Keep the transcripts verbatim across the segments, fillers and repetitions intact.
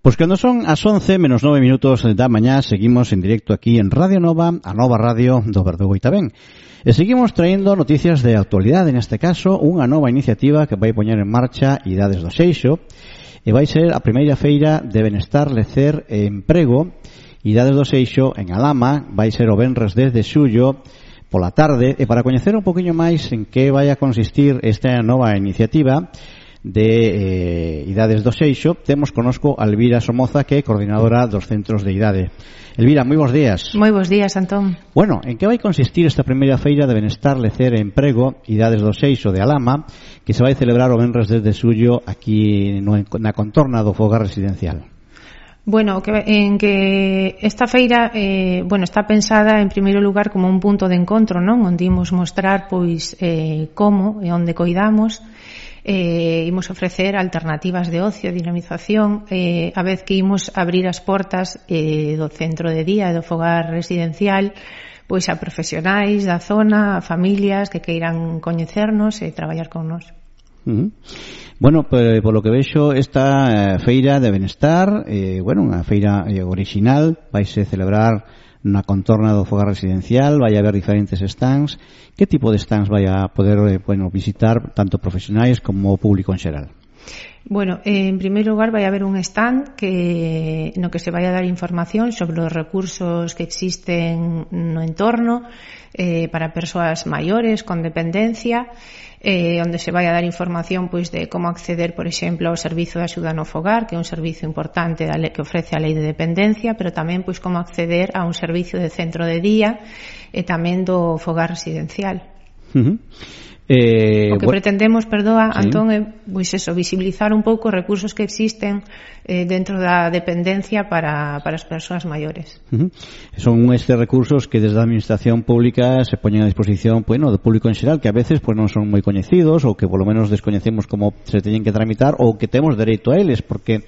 Pois cando son as once menos nove minutos da mañá, seguimos en directo aquí en Radio Nova, a nova radio do Verdugo e tamén. E seguimos traendo noticias de actualidade, neste caso, unha nova iniciativa que vai poñer en marcha Idades do Seixo, e vai ser a primeira feira de benestar, lecer e emprego. Idades do Seixo en Alama, vai ser o venres dez de xullo pola tarde, e para coñecer un poquinho máis en que vai a consistir esta nova iniciativa de eh, Idades do Seixo, temos conosco a Elvira Somoza, que é coordinadora dos centros de idade. Elvira, moi bons días. Moi bons días, Antón. Bueno, en que vai consistir esta primeira feira de benestar, lecer e emprego Idades do Seixo de Alama, que se vai celebrar o venres dez de xullo aquí no, na contorna do fogar residencial? Bueno, que, en que esta feira eh, bueno, está pensada en primeiro lugar como un punto de encontro, non? Onde imos mostrar pois eh, como e onde coidamos. Eh, imos ofrecer alternativas de ocio, dinamización, eh, a vez que imos abrir as portas eh, do centro de día e do fogar residencial pois a profesionais da zona, a familias que queiran coñecernos e traballar con nós. Uh-huh. Bueno, pues, por lo que vexo, esta eh, feira de benestar, eh, bueno, unha feira eh, original, vaise celebrar na contorna do fogar residencial, vai haber diferentes stands. Que tipo de stands vai a poder eh, bueno, visitar tanto profesionais como o público en xeral? Bueno, en primeiro lugar vai haber un stand que no que se vai a dar información sobre os recursos que existen no entorno eh, para persoas maiores con dependencia, eh, onde se vai a dar información pois de como acceder, por exemplo, ao servizo de axuda no fogar, que é un servizo importante da lei, que ofrece a lei de dependencia, pero tamén pois como acceder a un servicio de centro de día e tamén do fogar residencial. Uh-huh. Eh, o que bueno, pretendemos, perdoa, sí. Antón, é pois eso, visibilizar un pouco os recursos que existen eh, dentro da dependencia para, para as persoas maiores. Uh-huh. Son estes recursos que desde a administración pública se poñen a disposición, bueno, do público en xeral, que a veces pues, non son moi coñecidos ou que polo menos descoñecemos como se teñen que tramitar ou que temos dereito a eles, porque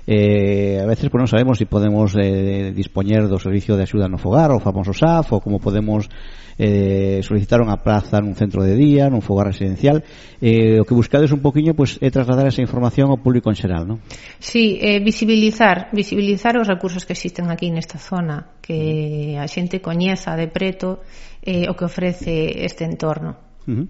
Eh, a veces pues, non sabemos se si podemos eh, dispoñer do servicio de axuda no fogar, o famoso S A F, ou como podemos eh, solicitar unha praza nun centro de día, nun fogar residencial. Eh, o que buscades un poquinho pues, é trasladar esa información ao público en xeral, non? Sí, eh, visibilizar visibilizar os recursos que existen aquí nesta zona, que a xente coñeza de preto eh, o que ofrece este entorno. Uh-huh.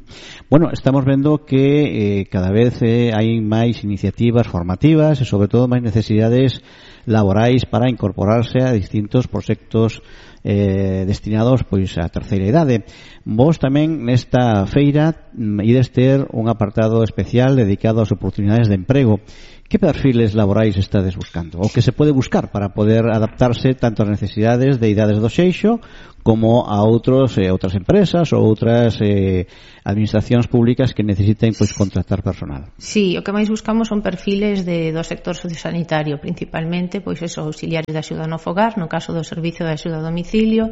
Bueno, estamos vendo que eh, cada vez eh, hai máis iniciativas formativas e sobre todo máis necesidades laborais para incorporarse a distintos proxectos eh, destinados pois á terceira idade. Vos tamén nesta feira ides ter un apartado especial dedicado ás oportunidades de emprego. Que perfiles laborais estades buscando? O que se pode buscar para poder adaptarse tanto ás necesidades de Idades do Seixo como a outros eh, outras empresas ou outras eh, administracións públicas que necesiten pois contratar personal? Sí, o que máis buscamos son perfiles de, do sector sociosanitario, principalmente pois esos auxiliares de axuda no fogar, no caso do servicio de axuda a domicilio,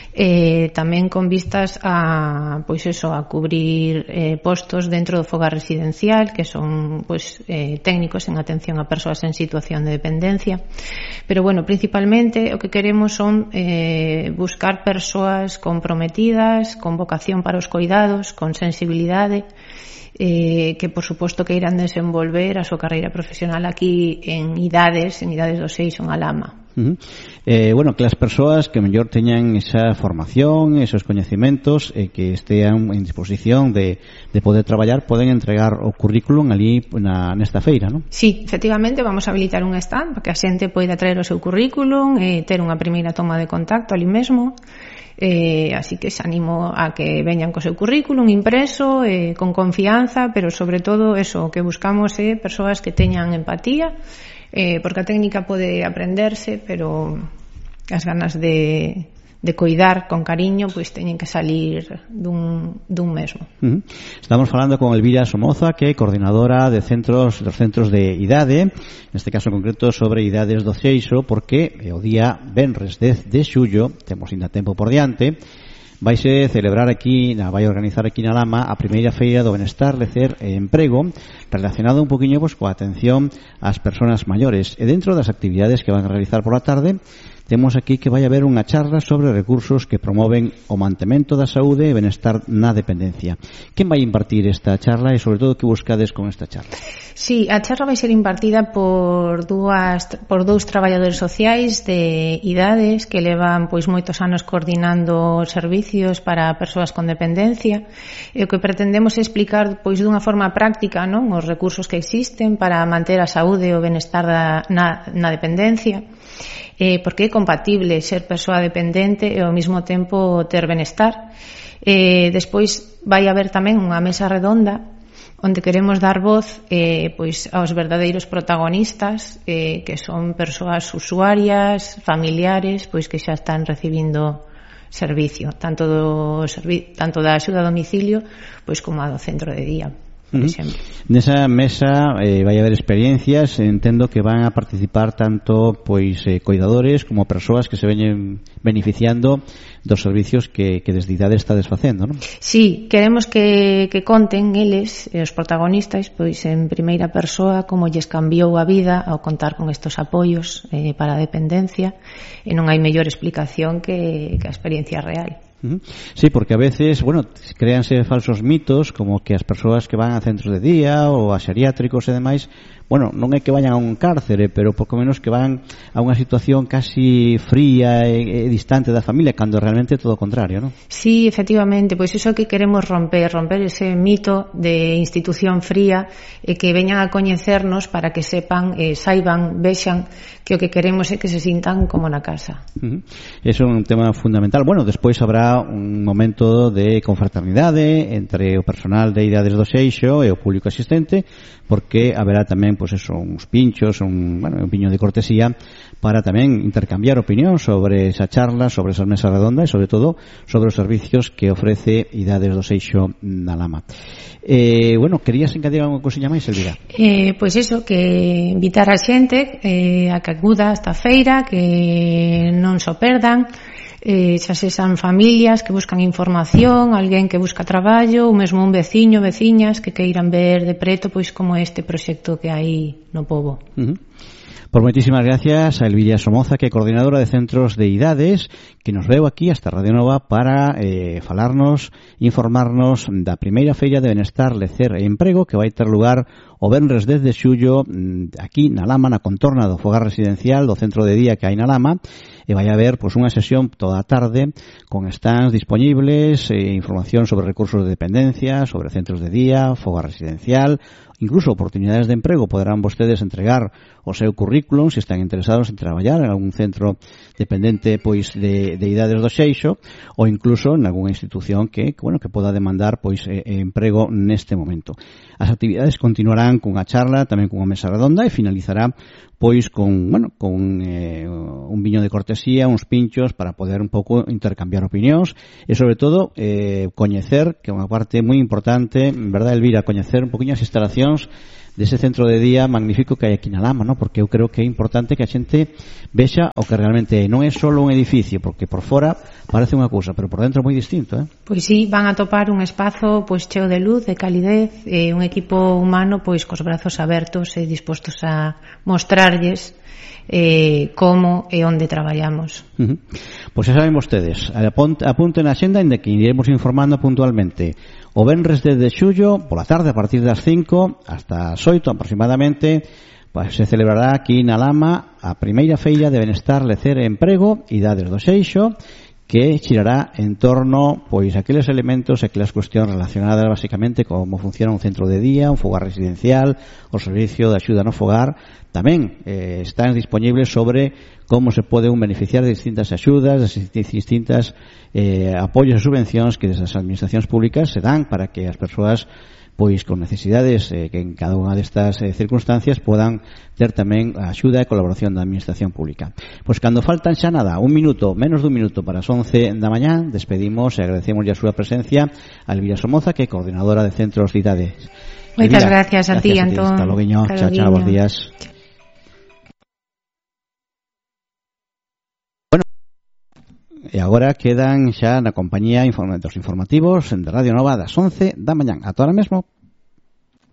eh, tamén con vistas a pois eso, a cubrir eh, postos dentro do fogar residencial, que son pois eh, técnicos en atención a persoas en situación de dependencia. Pero bueno, principalmente o que queremos son eh, buscar persoas comprometidas, con vocación para os coidados, con sensibilidade, eh, que por suposto que irán desenvolver a súa carreira profesional aquí en Idades, en Idades do Seixo, en Alama. Uh-huh. Eh, bueno, que as persoas que mellor teñan esa formación, esos coñecementos e eh, que estean en disposición de, de poder traballar, poden entregar o currículum ali na, nesta feira, non? Sí, efectivamente, vamos a habilitar un stand para que a xente poida traer o seu currículum e ter unha primeira toma de contacto ali mesmo. Eh, así que se animo a que veñan co seu currículum impreso, eh, con confianza, pero sobre todo eso, o que buscamos é eh, persoas que teñan empatía, eh, porque a técnica pode aprenderse, pero as ganas de, de coidar con cariño pois teñen que salir dun, dun mesmo. Uh-huh. Estamos falando con Elvira Somoza, que é coordinadora de centros dos centros de idade, neste caso en concreto sobre Idades do Seixo, porque o día venres dez de xullo, temos ainda tempo por diante, vaise celebrar aquí, vai organizar aquí na Lama a primeira feira do benestar, lecer e emprego, relacionado un poquinho pues, coa atención ás persoas maiores. E dentro das actividades que van a realizar por la tarde, temos aquí que vai haber unha charla sobre recursos que promoven o mantemento da saúde e benestar na dependencia. Quen vai impartir esta charla e, sobre todo, que buscades con esta charla? Sí, a charla vai ser impartida por dúas por dous traballadores sociais de idades que levan pois moitos anos coordinando servicios para persoas con dependencia, e o que pretendemos é explicar pois dunha forma práctica, non, os recursos que existen para manter a saúde e o benestar da, na, na dependencia, eh, porque é compatible ser persoa dependente e ao mesmo tempo ter benestar. Eh, despois vai haber tamén unha mesa redonda onde queremos dar voz eh, pois aos verdadeiros protagonistas, eh, que son persoas usuarias, familiares, pois que xa están recibindo servicio, tanto do servi- tanto da axuda a domicilio pois como a do centro de día. Por exemplo. Nesa mesa eh, vai haber experiencias, entendo que van a participar tanto pois eh, cuidadores como persoas que se veñen beneficiando dos servicios que, que desde idade está desfacendo, non? Sí, queremos que, que conten eles, os protagonistas, pois en primeira persoa como lles cambiou a vida ao contar con estos apoios eh, para a dependencia, e non hai mellor explicación que, que a experiencia real. Sí, porque a veces, bueno, créanse falsos mitos como que as persoas que van a centros de día ou a xeriátricos e demais, bueno, non é que vayan a un cárcere, pero pouco menos que van a unha situación casi fría e, e distante da familia, cando realmente é todo o contrario, non? Sí, efectivamente, pois iso que queremos romper, romper ese mito de institución fría e que veñan a coñecernos para que sepan, eh, saiban, vexan que o que queremos é que se sintan como na casa. Uh-huh. Eso é un tema fundamental. Bueno, despois habrá un momento de confraternidade entre o personal de idades do Seixo e o público asistente, porque haberá tamén pois eso, uns pinchos, un, bueno, un piño de cortesía para tamén intercambiar opinión sobre esa charla, sobre esa mesa redonda e sobre todo sobre os servicios que ofrece idades do Seixo na Lama. Eh, bueno, querías encadir unha cousiña máis, Elvira? Eh, pois iso, que invitar a xente eh, a que acuda a esta feira, que non so perdan, eh, xa sexan familias que buscan información, alguén que busca traballo, ou mesmo un veciño, veciñas que queiran ver de preto pois como este proxecto que hai no pobo. Uh-huh. Por moitísimas gracias a Elvira Somoza, que é coordinadora de centros de idades, que nos veu aquí hasta Radio Nova para eh, falarnos, informarnos da primeira feira de benestar, lecer e emprego que vai ter lugar o venres dez de xullo aquí na Lama, na contorna do fogar residencial do centro de día que hai na Lama, e vai haber pois, unha sesión toda a tarde con stands disponibles, eh, información sobre recursos de dependencia, sobre centros de día, fogar residencial, incluso oportunidades de emprego. Poderán vostedes entregar o seu currículum se están interesados en traballar en algún centro dependente pois de, de idades do Seixo, ou incluso en algunha institución que, bueno, que poda demandar pois eh, emprego neste momento. As actividades continuarán cunha charla, tamén cunha mesa redonda, e finalizará pois con, bueno, con eh, un viño de cortesía, uns pinchos para poder un pouco intercambiar opinións e sobre todo eh, coñecer, que é unha parte moi importante, verdad, Elvira, coñecer un poquinho as instalacións dese centro de día magnífico que hai aquí na Lama, ¿no? Porque eu creo que é importante que a xente vexa o que realmente non é só un edificio, porque por fora parece unha cousa, pero por dentro é moi distinto, eh? Pois sí, van a topar un espazo pois cheo de luz, de calidez, e un equipo humano pois cos brazos abertos e dispostos a mostrarlles eh, como e onde traballamos. Uh-huh. Pois xa saben vostedes, apunten a xenda en de que iremos informando puntualmente. O venres dez de xullo, pola tarde, a partir das cinco hasta as oito aproximadamente, pues, se celebrará aquí na Lama a primeira feira de benestar, lecer e emprego, idades do Seixo, que xirará en torno pois aqueles elementos e aquelas cuestións relacionadas basicamente como funciona un centro de día, un fogar residencial, o servicio de axuda no fogar. Tamén eh, están disponibles sobre como se pode un beneficiar de distintas axudas, de distintas eh, apoios e subvencións que desde as administracións públicas se dan para que as persoas pois con necesidades eh, que en cada unha destas eh, circunstancias podan ter tamén a axuda e colaboración da administración pública. Pois cando faltan xa nada, un minuto, menos dun minuto para as once da mañá, despedimos e agradecemos a súa presencia a Elvira Somoza, que é coordinadora de centros de idades. Moitas gracias a ti, Antón. Hasta logo, chao, chao, bons días. Bueno, e agora quedan xa na compañía dos informativos de Radio Nova das once da mañán. Ata ahora mesmo.